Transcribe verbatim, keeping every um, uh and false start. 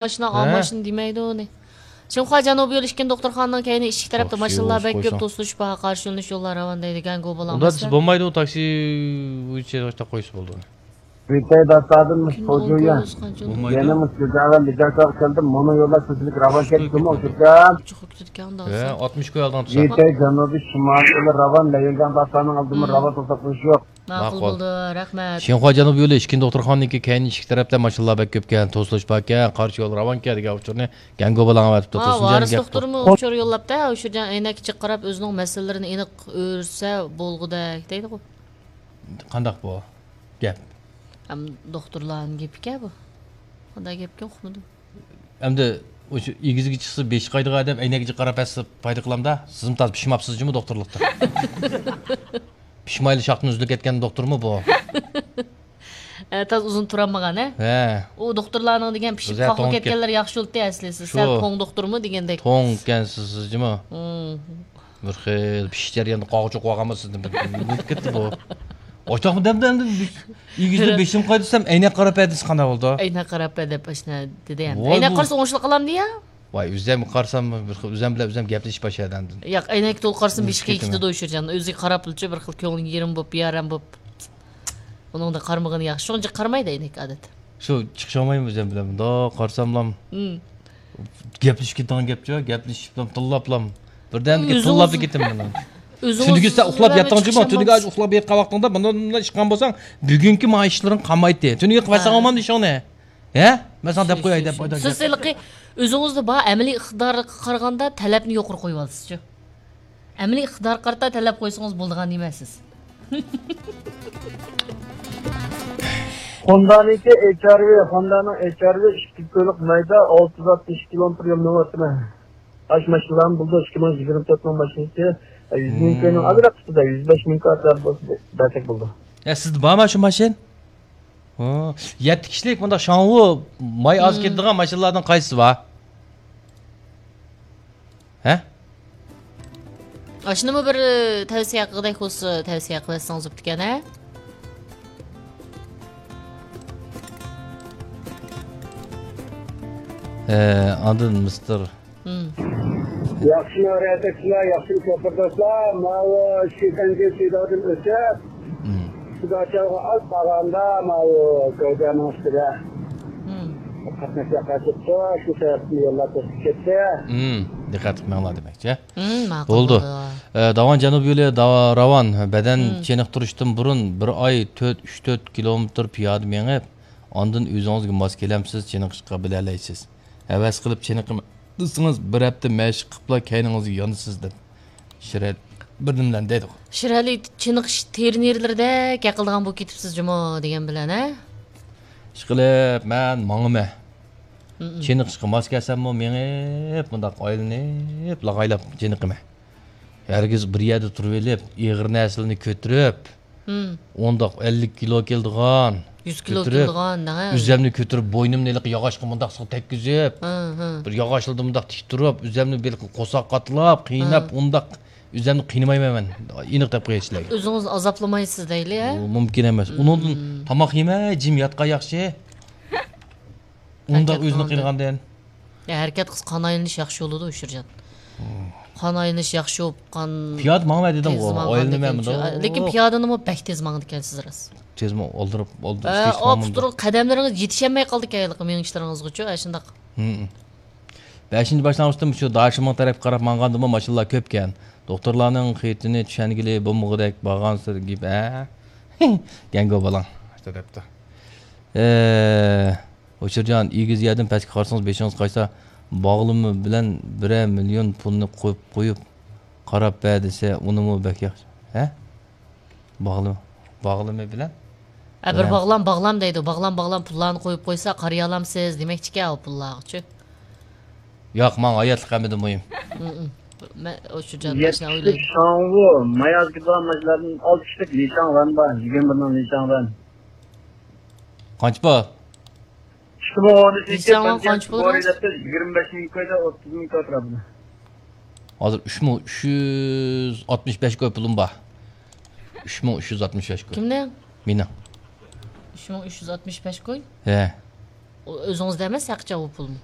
ماشىنا، ھە؟ ماشىنا دېمەيدۇ ئۇنى. شىنخۇا جەنۇبىي يول ئىككىنچى دوختۇرخانىنىڭ كەينى ئىشىك تەرەپتە تاكسى ماشىنىلار بەك كۆپ، توسۇلۇش بار، قارشى يۆنىلىش يوللار راۋان دەيدىكەن، گوبىلاڭ. ئۇندا دېسە بولمايدۇ، تاكسى بويىچە توختاپ قويسا بولىدۇ. ۋىتەي داتادىن مۇشۇ پوجۇيا. بولمايدۇ. يەنە مۇشۇ جاغان بىجاكاغا كەلدىم، مۇنۇ يوللار سىزلىك راۋان كەتتىمۇ، شۇكران. ھە، ئاتمىش كوي ئالدىڭ تۇتسا. ۋىتەي جەنۇبىي شىمال يولى راۋان، لەيۈنگەن داتانىڭ ئالدىمۇ راۋان توساپ قويۇش يوق. ماقۇل بولدى، رەھمەت. شىنخۇا جەنۇبىي يولى ئىككىنچى دوختۇرخانىنىڭكى كەينى ئىشىك تەرەپتە ماشىنىلار بەك كۆپكەن، توسۇلۇش باركەن، قارشى يول راۋانكەن دېگەن ئۇچۇرنى گەڭگو بالاڭغا ئەۋەتىپتۇ. ھا، تۇرسۇنجان ۋارىس گەپ قىلىپ. دوختۇرمۇ ئۇچۇر يوللاپتۇ، ئۇچۇرجان ئەينەككە چىقىپ قاراپ ئۆزىنىڭ مەسىلىلىرىنى ئېنىق ئۆرسە بولغۇدەك دەيدىغۇ. قانداق بۇ گەپ؟ ھەم دوختۇرلارنىڭ گېپىكەن بۇ. قانداق گەپكەن ئۇقمىدىم. ئەمدى ئاشۇ ئېگىزگە چىقسا بېشى قايىدىغان ئادەم ئەينەككە قاراپ ھەسسە پايدا قىلامدا، سىزمۇ تازا پىشماپسىز جۇمۇ دوختۇرلۇقتا. پىشمايلا شاختىن ئۈزۈلۈپ كەتكەن دوختۇرمۇ بۇ؟ ئە، تازا ئۇزۇن تۇرالمىغان، ھە؟ ھە. ئۇ دوختۇرلارنىڭ دېگەن پىشىپ قاقىلىپ كەتكەنلەر ياخشى بولدى ئەسلى، سىز سەل توڭ دوختۇرمۇ دېگەندەك. توڭ ئىكەنسىز، سىز جۇمۇ. مم. بىر خىل پىشىش جەريانىدا قاغا چوقۇۋالغانمۇ سىزدىن بىر نېمە كەتتى بۇ؟ ئاشۇنداقمۇ دەمدە ئەمدى ئېگىزدە بېشىم قايدىسام ئەينەك قاراپ بەردىسى قانداق بولدى؟ ئەينەك قاراپ بەر دەپ ئاشۇنداق دېدى ئەمدى. ۋاي ئەينەك بۇ قارىسا ئوڭۇشلۇق قالامدۇ يا؟ ۋاي ئۆزۈم قارىسام بىر خىل ئۆزۈم بىلەن ئۆزۈم گەپلىشىپ باشلىدى ئاندىن. ياق، ئەينەك تولا قارىسام بېشى قېيىپ كېتىدۇ ئۇچۇرجان. ئۆزى قاراپلىچۇ بىر خىل كۆڭلى يېرىم بولۇپ، بىئارام بولۇپ. ئۇنىڭدا قارىمىغىنى ياخشى. شۇنىڭ ئۈچۈن قارىمايدۇ ئەينەك ئادەتتە. شۇ چىقىشالمايمۇ ئۆزۈم بىلەن. مۇنداق قارىساملام. مم. گەپلىشىپ كېتىدىغان گەپچۇ، گەپلىشىپلام، تىللاپلام. بىردەمدىكى ئۆزىڭىز تىللاپلا كېتىمەن مەن. ئۆزىڭىز تۈنۈگۈچە ئۇخلاپ بىلەن ياتقانچۇ، چىقىشالمايسىز. تۈنۈگۈچە ئۇخلاپ ياتقان ۋاقتىڭدا مۇنداق، مۇنداق ئىشقان بولساڭ، بۈگۈنكى ما ئىشلىرىڭ قالمايتتى. تۈنۈگۈن قىلىپ ئالساڭ ھە. بولمامدۇ ئىشىڭنى؟ ھە؟ مەن ساڭا دەپ قوياي دەپ. سىز ھېلىقى ئۆزىڭىزدە بار ئەمەلىي ئىقتىدارغا قارىغاندا تەلەپنى يۇقىرى قويۇۋالىسىزچۇ. ئەمەلىي ئىقتىدارغا قارىتا تەلەپ قويسىڭىز بولىدىغان نېمە سىز. خوندانىڭكى ئېچ ئار ۋى، خوندانىڭ ئېچ ئار ۋى ئىككى كويلۇق مەيدە، ئالتە يۈز ئاتمىش كىلومېتىر يول مېڭىۋاتىمەن. ئاشۇ ماشىنىلارمۇ بولىدۇ، ئىككى مىڭ يىگىرمە تۆتنىڭ ماشىنىسى، يۈز مىڭ كوينىڭ ئازراق ئۈستىدە، يۈز بەش مىڭ كوي ئەتراپىدا بولسا بەرسەك بولىدۇ. يا، سىزدە بارمۇ شۇ ماشىنا؟ ھە. يەتتە كىشىلىك مۇنداق شاڭۋۇ ماي ئاز كېتىدىغان ماشىنىلاردىن قايسىسى بار؟ ھە؟ ئاشۇنىمۇ بىر، ئى، تەۋسىيە قىلغۇدەك بولسا، تەۋسىيە قىلىۋەتسىڭىز بوپتىكەن، ھە؟ ئە، ئاندىن مىستېر. مم. ياخشىمۇ رەھبەرچىلەر، ياخشىمۇ شوپۇرداشلار، ماۋۇ شىفەنجى سىدادىن ئۆتۈپ، مم. سىداچالغا ئاز قالغاندا، ماۋۇ گەۋدەنىڭ ئۈستىدە مم. قاتناش ياخشىلىقى، شۇ سەۋەبتىن يوللار توسۇپ كەتتى. مم. دىققەت قىلماڭلار دېمەكچى. مم، ماقۇل بولدى. بولدى. ئە، داۋان جەنۇب يولى داۋا-، راۋان، بەدەن مم. چېنىقتۇرۇشتىن بۇرۇن بىر ئاي تۆت، ئۈچ تۆت كىلومېتىر پىيادە مېڭىپ، ئاندىن ئۆزىڭىزگە ماس كېلەمسىز، چېنىقىشقا بىلەلەيسىز. ھەۋەس قىلىپ چېنىقىمەن دېسىڭىز، بىر ھەپتە مەشىق قىلىپلا كەينىڭىزگە يانىسىز دەپ شىرەت بىردىنلەن دەيدىغۇ. شىرەلى چېنىقىش تېرىنېرلىرىدەك ھەقىلدىغان بولۇپ كېتىپسىز جۇمۇ دېگەن بىلەن، ھە؟ ئىشقىلىپ، مەن ماڭىمەن. مم. چېنىقىشقا ماس كەلسەممۇ مېڭىپ، مۇنداق ئايلىنىپ، لاغايلاپ چېنىقىمەن. ھەرگىز بىر يەردە تۇرۇۋېلىپ، ئېغىر نەرسىلەرنى كۆتۈرۈپ، مم. ئۇنداق ئەللىك كىلو كېلىدىغان، يۈز كىلو كۆتۈرۈپ، كېلىدىغان، ھە. ئۆزۈمنى كۆتۈرۈپ، بوينۇمنى ھېلىقى ياغاچقا مۇنداق سىغا تەگكۈزۈپ، ھە، ھە. بىر ياغاچلاردا مۇنداق تىك تۇرۇپ، ئۆزۈمنى بىر قورساق قاتلاپ، قىيناپ، ھە. ئۇنداق ئۆزۈمنى قىينىمايمەن مەن. ئېنىق دەپ قوياي سىلەرگە. ئۆزىڭىزنى ئازابلىمايسىز دەيلى، ھە؟ ئۇ مۇمكىن ئەمەس. مم. ئۇنىڭدىن تاماق يېمەي، جىم ياتقان ياخشى. ئۇنداق ھەرىكەت ئۆزىنى قىلغاندىن. قىلغاندىن. يا، ھەرىكەت قىلسا قان ئايلىنىش ياخشى بولىدۇ، ئۇچۇرجان. مم. قان ئايلىنىش ياخشى بولۇپ، قان پىيادە ماڭىمەن دېدىمغۇ، تېز ماڭغاندىكەن ئايلىنىمەن شۇ. لېكىن پىيادىنىمۇ بەك تېز ماڭىدىكەنسىز راست. تېزمۇ ئالدىراپ، ئالدىراپ ئە، ئاپتۇر، قەدەملىرىڭىز يېتىشەلمەي قالدىكەن ھېلىقى مېڭىشلىرىڭىزغىچۇ، ئاشۇنداق. ھىم. بەشىنچى باشلانغۇچتىن شۇ داشىمىڭ تەرەپكە قاراپ ماڭغاندىمۇ ماشىنىلار كۆپكەن. دوختۇرلارنىڭ خېتىنى چۈشەنگىلى بولمىغۇدەك بارغانسېرى گېپە. گەڭگو بالاڭ. ئاشۇنداق دەپتۇ. ئە، ئۇچۇرجان، ئېگىز يەردىن پەسكە قارىسىڭىز بېشىڭىز قايسا، باغلىما بىلەن بىرەر مىليون پۇلنى قويۇپ، قويۇپ قاراپ بەر دېسە، ئۇنىمۇ بەك ياخشى. ھە؟ باغلىما، باغلىما بىلەن ھە، بىر بىلەن باغلام، باغلام دەيدۇ. باغلام، باغلام پۇللارنى قويۇپ قويسا، قارىيالامسىز دېمەكچىكەن ئۇ پۇللارغىچۇ. ياق، ماڭا ھاياتلىق ھەممىدىن مۇھىم. مم. مەن ئۇچۇرجان يەتتە ئاشۇنداق كىشىلىك ئويلايمەن. شاڭۋۇ، ماياز كېتىدىغان ماشىنىلاردىن ئالتە كىشىلىك لىشاڭ ۋەن بار، يىگىرمە بىرنىڭ لىشاڭ ۋەن. قانچە بار؟ ئىككى مىڭ ئون ئۈچىنچى لىشاڭ ۋەن قانچە پۇل راست؟ يىگىرمە بەش مىڭ كويدا، ئوتتۇز مىڭ كوي ئەتراپىدا. ھازىر ئۈچ مىڭ ئۈچ يۈز ئاتمىش بەش كوي پۇلۇم بار. ئۈچ مىڭ ئۈچ يۈز ئاتمىش بەش كوي. كىمنىڭ؟ مېنىڭ. ئۈچ مىڭ ئۈچ يۈز ئاتمىش بەش كوي؟ ھە. ئۆزىڭىزدە ئەمەس، ھەقىچان بۇ پۇلمۇ؟